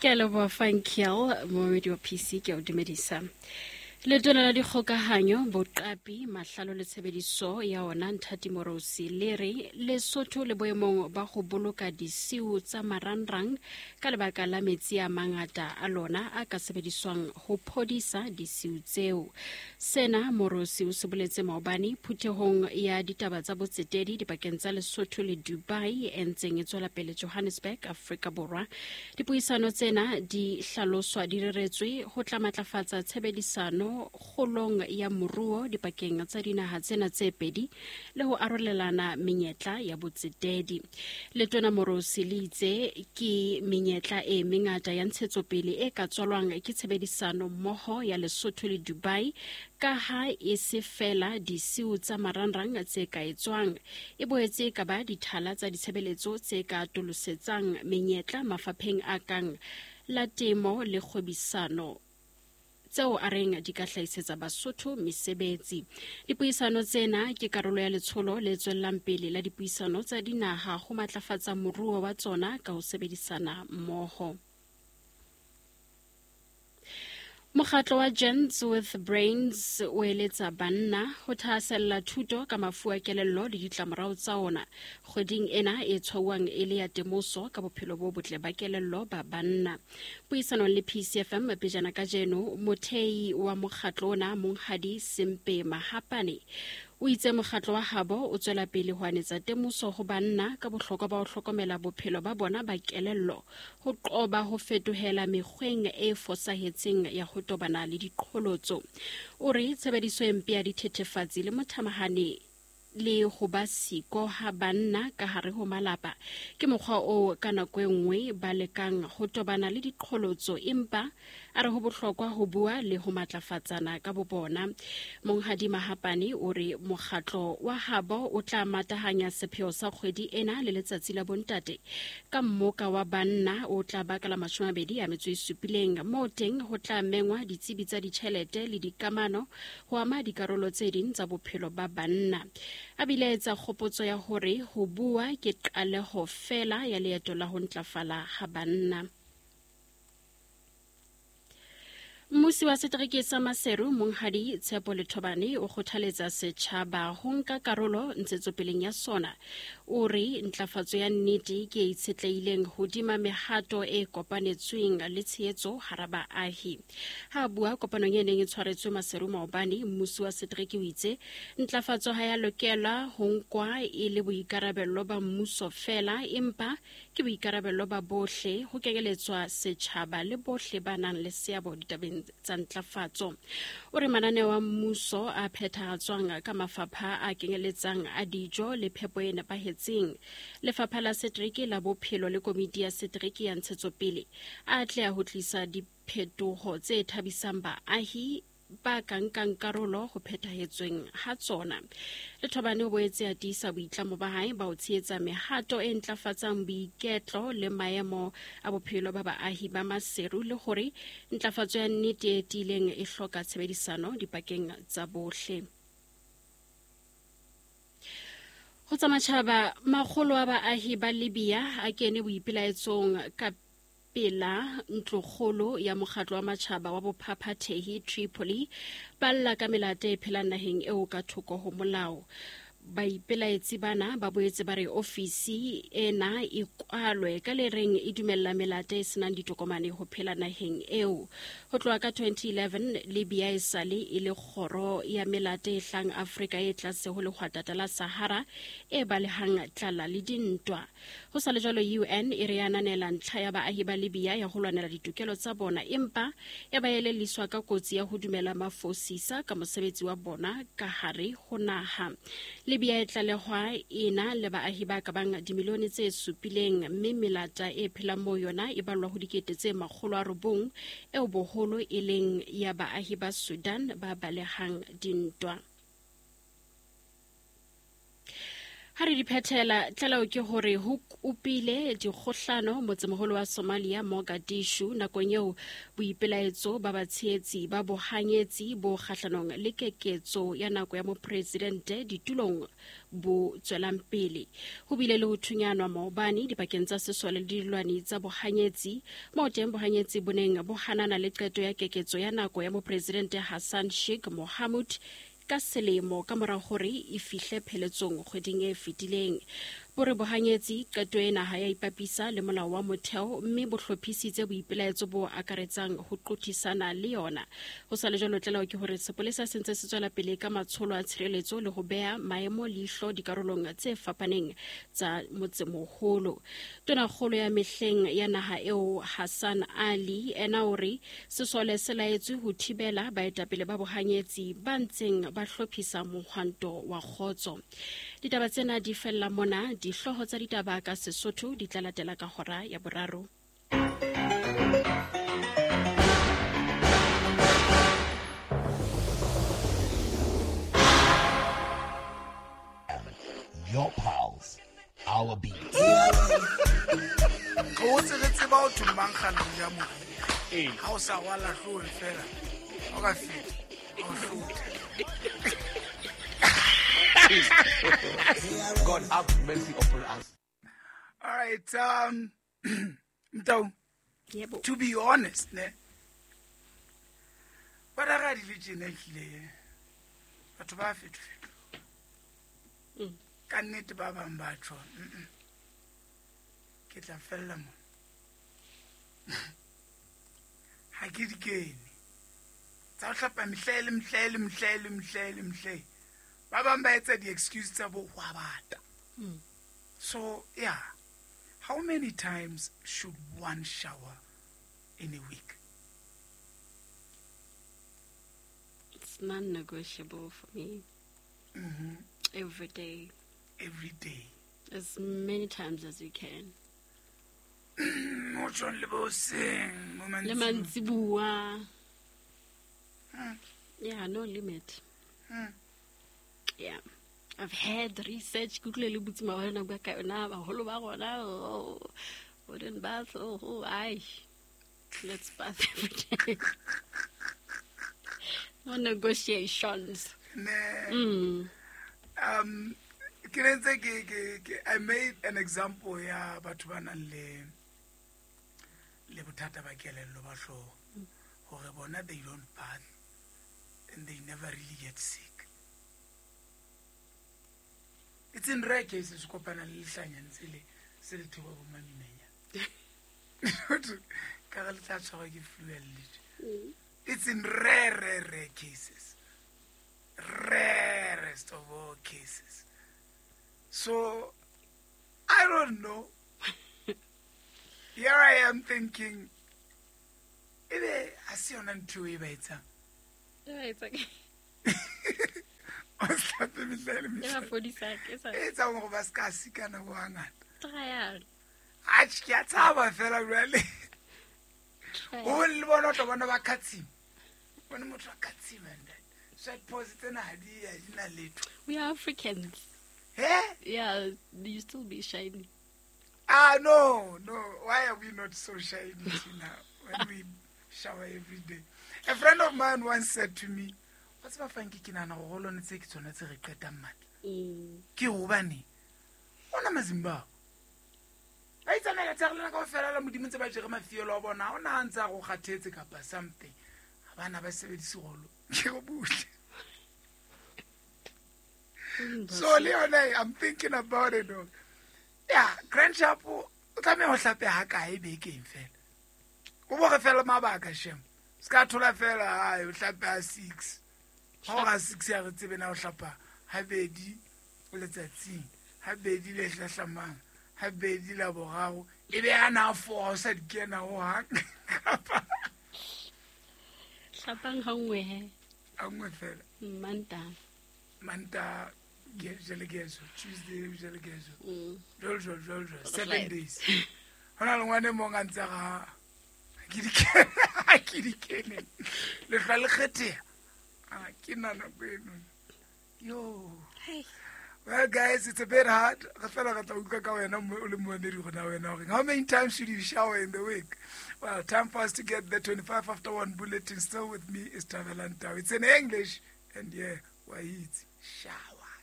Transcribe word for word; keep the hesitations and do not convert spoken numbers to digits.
Ke a leboha Funkiel, momamedi wa P C, ke a o dumedisa. Letona la dikgokahanyo, boqapi, mahlalo le tshebediso ya ona Nthati Morosi le re Lesotho le boemong ba ho boloka disiu tsa marangrang ka lebaka la metsi a mangata a lona a ka sebediswang ho phodisa disiu tseo. Sena Morosi o se boletse maobane phuthehong ya ditaba tsa botsetedi dipakeng tsa Lesotho le Dubai e ntseng e tswela pele Johannesburg, Afrika Borwa. Dipuisano tsena di hlaloswa di reretswe ho tla matlafatsa tshebedisano kgolong ya moruo dipakeng tsa dinaha tsena tse pedi le ho arolelana menyetla ya botsetedi. Letona Morosi le itse ke menyetla e mengata ya ntshetsopele e ka tswalwang ke tshebedisano mmoho ya Lesotho le Dubai ka ha e se fela disiu tsa marangrang tse ka etswang, e boetse e ka ba dithala tsa ditshebeletso tse ka atolosetsang menyetla mafapheng a kang la temo le kgwebisano tseo a reng di ka hlahisetsa Basotho mesebetsi. Dipuisano tsena ke karolo ya letsholo le tswellang pele la dipuisano tsa dinaha ho matlafatsa moruo wa tsona ka ho sebedisana mmoho. Mokgatlo wa Gents with Brains o eletsa banna ho thahasella thuto ka mafu a kelello le ditlamorao tsa ona kgweding ena e tshwauwang e le ya temoso ka bophelo bo botle ba kelello ba banna. Puisanong le P C F M pejana kajeno, mothei wa mokgatlo ona Monghadi Sempe Mahapane o itse mokgatlo wa habo o tswela pele ho anetsa temoso ho banna ka bohlokwa ba ho hlokomela bophelo ba bona ba kelello, ho qoba ho fetohela mekgweng e fosahetseng ya ho tobana le diqholotso. O re tshebediso e mpe ya dithethefatsi le mothamahane le ho ba siko ha banna ka hare ho malapa ke mokgwa oo ka nako e nngwe ba lekang ho tobana le diqholotso, empa a re ho bohlokwa ho bua le ho matlafatsana ka bobona. Monghadi Mahapane o re mokgatlo wa habo o tla matahanya sepheo sa kgwedi ena le letsatsi la bontate ka mmoka wa banna o tla baka la mashome a mabedi a metso e supileng, moo teng ho tla mengwa ditsebi tsa ditjhelete le dikamano ho ama dikarolo tse ding tsa bophelo ba banna. A bile etsa kgopotso ya hore ho bua ke qaleho fela ya leeto la ho ntlafala ha banna. Mmusi wa setereke sa Maseru Monghadi Tshepo Lethobane o kgothaletsa setjhaba ho nka karolo ntshetsopeleng ya sona. O re ntlafatso ya nnete ke e itshetlehileng hodima mehato e kopanetsweng le tshehetso hara baahi. Ha a bua kopanong e neng e tshwaretswe Maseru maobane, mmusi wa setereke o itse ntlafatso ha ya lokela ho nkwa e le boikarabello ba mmuso fela, empa ke boikarabello ba bohle, ho kenyeletswa setjhaba le bohle ba nang le seabo ditabeng tsa ntlafatso. O re mananeo a mmuso a phethahatswang ka mafapha a kenyeletsang a dijo le phepo e nepahetseng, lefapha la setereke la bophelo le komiti ya setereke ya ntshetsopele a atleha ho tlisa diphetoho tse thabisang baahi ba ka nkang karolo ho phethahetsweng ha tsona. Lethobane o boetse a tiisa boitlamo ba hae ba ho tshehetsa mehato e ntlafatsang boiketlo le maemo a bophelo ba baahi ba Maseru le hore ntlafatso ya nnete e tiileng e hloka tshebedisano dipakeng tsa bohle. Ho tsa matjhaba, makgolo a baahi ba Libya a kene boipelaetsong ka pela ntlokgolo ya mokgatlo wa matjhaba wa bophaphathehi Tripoli, ba lla ka melata e phelang naheng eo ka thoko ho molao. Baipelaetsi bana ba boetse ba re ofisi ena e kwalwe ka le reng e dumella melata e senang ditokomane ho phela naheng eo. Ho tloha ka twenty eleven, Libya e sale e le kgoro ya melata e hlang Afrika e tlase ho lehwatata la Sahara e balehang tlala le dintwa. Ho sa le jwalo, U N e re ananela ntlha ya baahi ba Libya ya ho lwanela ditokelo tsa bona, empa ya ba elelliswa ka kotsi ya ho dumela mafosisa ka mosebetsi wa bona ka hare ho naha. Libya e tlalehwa ena le baahi ba ka bang dimilione tse supileng, mme melata e phelang moo yona e ballwa ho dikete tse makgolo a robong, eo boholo e leng ya baahi ba Sudan ba balehang dintwa. Ha re di phethela tlaleho ke hore ho kopile dikgohlano motsemoholo wa Somalia Mogadishu nakong eo boipelaetso ba batshehetsi ba bohanyetsi bo kgahlanong le keketso ya nako ya mopresidente ditulong bo tswelang pele. Ho bile le ho thunyanwa maobane dipakeng tsa sesole le dilwani tsa bohanyetsi moo teng bohanyetsi bo neng bo hanana le qeto ya keketso ya nako ya mopresidente Hassan Sheikh Mohamud ka selemo ka mora hore e fihle pheletsong kgweding e fetileng. Bo re bohanyetsi qeto ena ha ya ipapisa le molao wa motheo mme bo hlophisitse boipelaetso bo akaretsang ho qothisana le yona. Ho sa le jwalo tlaleho ke hore sepolesa se ntse se tswela pele ka matsholo a tshireletso le ho beha maemo leihlo dikarolong tse fapaneng tsa motsemoholo. Tonakgolo ya mehleng ya naha eo Hassan Ali ena o re sesole se laetswe ho thibela baetapele ba bohanyetsi ba ntseng ba hlophisa mohwanto wa kgotso. Ditaba tsena di fella mona. Dihlooho tsa ditaba ka Sesotho di tla latela ka hora ya boraro. Your pulse, our beat. Go tse re tseba o thumang kgana ya mo. Ha o sa wala hloe fela. O ka feta. O hloe. God have mercy upon us. All right, um, Mtau, Yebo. To be honest, ne, ba ra di le tjena ehlile, batho ba fetofeto. Mm. Ka nnete ba bang ba tjho, mm-mm. Ke tla fella mo. Ha ke di kene. Tsa ho hlapa mehlele, mehlele, mehlele, mehlele, mehlele. Ba bang ba etsa di-excuse tsa bo hwa bata. Mm. So, yeah. How many times should one shower in a week? It's non-negotiable for me. Mm-hmm. Every day. Every day. As many times as you can. Mo tjhong le bo hoseng, mo Le mantsibuya. mantsibuya. Hmm. Yeah, no limit. Hmm. Yeah. I've had research. Google le botse maobane nako ya ka yona, baholo ba rona, oh, wooden bath, oh, oh, ai. Let's bath every day. No negotiations. Ne. Mm. Um, ke ne ntse ke, ke, ke, I made an example ya batho ba nang le, le bothata ba kelello ba hlooho. Hore bona they don't bath and they never really get sick. It's in rare cases kopana le lehlanya ntse le se le thoba bo maminanya. Ka re le tla tshwarwa ke flu ya lletše. It's in rare, rare, rare cases. Rarest of all cases. So, I don't know. Here I am thinking, ebe ha se yona ntho e ba etsang. E ba etsang. O hlape mehlele E ba mehlele. fodisa, ke sa- E etsang hore ba ska sikana bo hangata. Tryang. Atjhe, ke a tshaba fela jwale. Tryang. O le bona o tla bona ba khatsima. Bona motho a khatsima and that. Sweat pores tsena ha di, ha di na letho. We are Africans. He? Yeah, you still be shiny. Ah, no, no. Why are we not so shiny now when we shower every day? A friend of mine once said to me, wa tseba Frankie, ke nahana hore ho lona tse ke tsona tse re qetang matla. Mm. Ke hobane ona Mazimbabwe ba itsamaela tsa rona kaofela la Modimo ntse ba jere mafielo a bona. Ha ona ha ntse a go kgathetse kapa something. Ha bana ba sebedise rolo. Ke go butle. So le yona, I'm thinking about it though. Yeah, Grand Chapo o tlameha ho hlape ha kae bekeng fela. O bo re fela mabaka shem. Ska thola fela ha o hlape ha six. Ha o ga six ya re tsebe na o hlapa habedi letsatsing, habedi le hlahlamang, habedi la boraro, e be ana four o sa di kena ho hang. Kapa Hlapang ha nngwe he. Ha nngwe fela. Manta. Manta ke jele keso, Tuesday jele keso. Mm. Jol jol jol jol, Right. seven days. Hona le ngwane mong a ntse ga ke di kene, ke di kene. Le hla le kgetheha. Ah, ke nna nako eno. Yo. Hey. O Well, guys, it's a bit hard. Re fela re tla utlwa ka wena mo- o le moemedi gona wena hore how many times should you shower in the week? Well, time for us to get the twenty-five after one bulletin. Still with me is Tavelan Tau. It's in English, and yeah, wa itse. Sharp.